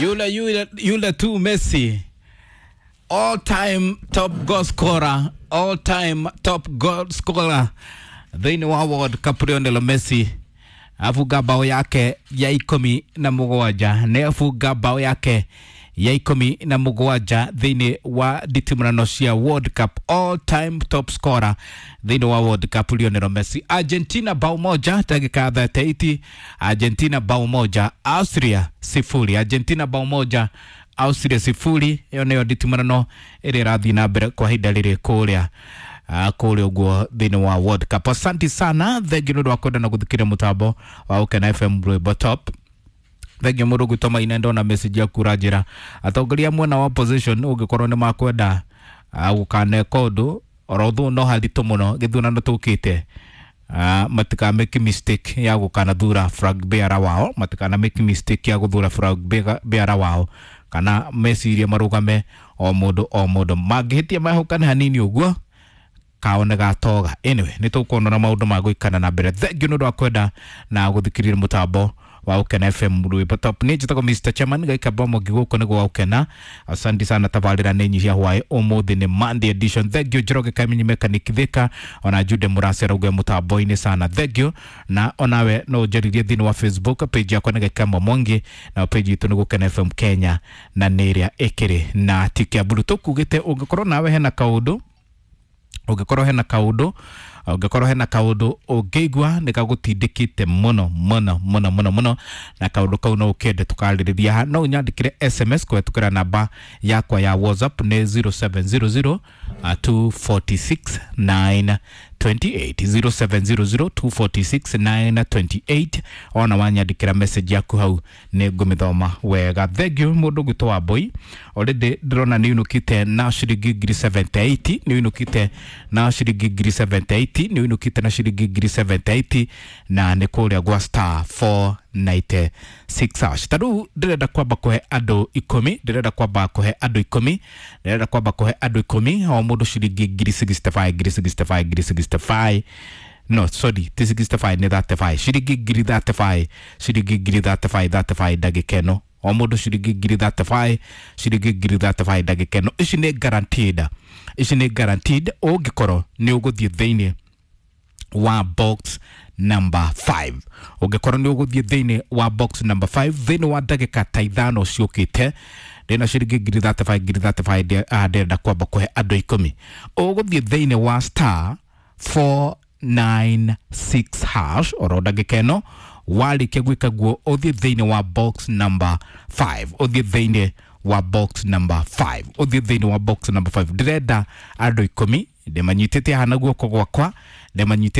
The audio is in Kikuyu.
Yule yule yule tu Messi, all time top goal scorer, all time top goal scorer thĩinĩ wa World Cup Lionel Messi abunga bao yake ya 17, nĩ abunga bao yake ya 17 thĩinĩ wa nditimũrano cia World Cup, all time top scorer thĩinĩ wa World Cup Lionel Messi. Argentina bao 1 ndagĩka 38, Argentina bao 1 Austria 0, Argentina bao 1 Austria 0. Ĩyo nĩyo nditimũrano ĩrĩa ĩrathiĩ na mbere kwa ihinda rĩrĩ kũrĩa kũrĩa ũguo thĩinĩ wa World Cup. Asante sana, thengiũ nĩ ũndũ wa kwenda na gũthikĩrĩria mũtambo wa Ũkena FM Rwĩmbo Top. Thengiũ mũndũ gwĩtwo Maina, ndona message yaku ũranjĩra atongoria mwena wa opposition ũngĩkorwo nĩ makwenda gũkaneka ũndũ oro thũ no haritũ mũno gĩthurano tũkĩte, matika make mistake ya gũkanathura flag bearer wao, matikana make mistake ya gũthura flag bearer wao kana mecirie marũgame o mũndũ o mũndũ mangĩhĩtia mahũkane hanini ũguo kao nĩ gatoga. Anyway, nĩ tũkuona na maũndũ ma gũikana na mbere. Thengiũ nĩ ũndũ wa kwenda na gũthikĩrĩria mũtambo wa Ũkena FM Rwĩmbo Top. Niĩ njĩtagwo Mr Chairman Gaikamba Mwangi, gũkũ nĩ gwa Ũkena. Asante sana, tabarĩra nĩ nyihia hwaĩ ũmũthĩ nĩ Monday edition. Thengiũ Njoroge Kamenyi Mechanic Thika, ona Jude Mũrase arauga mũtambo-inĩ sana, thengiũ. Na onawe no ũnjarĩrie thĩinĩ wa Facebook page yakwa nĩ Gaikamba Mwangi, na page itũ nĩ Gũkena FM Kenya, na nĩ ĩrĩa ĩkĩrĩ na tick ya blue. Tũkugĩte ũngĩkorwo nawe hena kaũndũ, ũngĩkorwo hena kaũndũ, ũngĩkorwo hena kaũndũ ũngĩigua nĩ gagũtindĩkĩte mũno mũno mũno mũno mũno, na kaũndũ kau no ũkende tũkarĩrĩria haha, no ũnyandĩkĩre SMS kũhetũkĩra namba yakwa ya WhatsApp nĩ 0700 246 928, 0700 246 928. Ona wanyandĩkĩra message yaku hau nĩ ngũmĩthoma wega. Thengiũ mũndũ gwĩtwo wa Mbui, already ndĩrona nĩ ũinũkĩte na ciringi ngiri 78, nĩ ũinũkĩte na ciringi ngiri 78, nĩ ũinũkĩte na ciringi ngiri 78, na nĩ kũrĩa gwa star 496 hash. Ta rĩu ndĩrenda kwamba kũhe andũ 10, ndĩrenda kwamba kũhe andũ 10, ndĩrenda kwamba kũhe andũ 10 o mũndũ ciringi ngiri 65, ngiri 65, ngiri 65, no sorry, ti 65, nĩ 35, ciringi ngiri 35, ciringi ngiri 35, 35 ndagĩka ĩno, o mũndũ ciringi ngiri 35, ciringi ngiri 35 ndagĩka ĩno. Ici nĩ guaranteed, ici nĩ guaranteed ũngĩkorwo nĩ ũgũthiĩ thĩinĩ wa box number 5, ũngĩkorwo nĩ ũgũthiĩ thĩinĩ wa box number 5 thĩinĩ wa ndagĩka ta 5 ciũkĩte. Ndĩna ciringi ngiri 35, ngiri 35, ndĩrenda kwamba kũhe andũ 10. Ũgũthiĩ thĩinĩ wa star 496 hash oro ndagĩka ĩno. Warĩkia gwĩka guo, ũthiĩ thĩinĩ wa box number 5, ũthiĩ thĩinĩ wa box number 5, ũthiĩ thĩinĩ wa box number 5. Ndĩrenda andũ 10, ndĩmanyitĩte haha na guoko gwakwa, ndĩmanyitĩte.